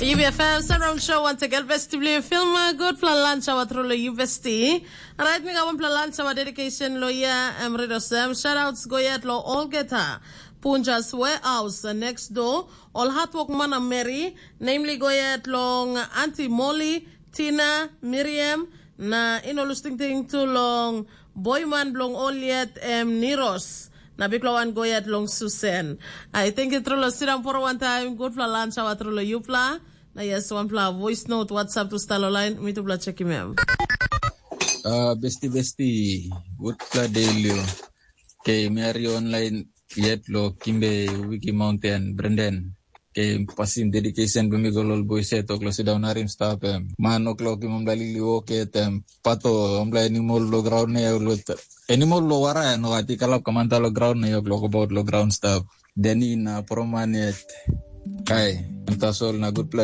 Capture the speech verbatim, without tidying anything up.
Yu B F M Surround Show once again, Besti Blue Film, uh, good plan lunch hour through lo yu Besti. Alright, mi got one plan lunch hour dedication lo ya, em read osem. Shout outs go yet lo all get her. Punjas warehouse, uh, next door. All hard work man and Mary, namely go yet long Auntie Molly, Tina, Miriam, na ino lusting ting tu long boyman bilong ol yet em Niros. Na bikpela wan go yet long Susan. I think it true lo sit down for one time. Good plan lunch hour through lo yupla. Na yes, one pla voice note WhatsApp tu stalo line. Mi tu pla check him em. Uh, besti besti, good pla day Leo. Okay, mi are online yet lo Kimbe Wiki Mountain, Brendan. Okay, pasim dedication be mi go lol boy set oklo sit down arim stap em. Man oklo kim omla lili oke tem. Pato omla animal lo ground ne lo animal lo wara no ati kalap kamanta lo ground ne oklo about lo ground stap. Deni na proman yet. Kai, tasol na good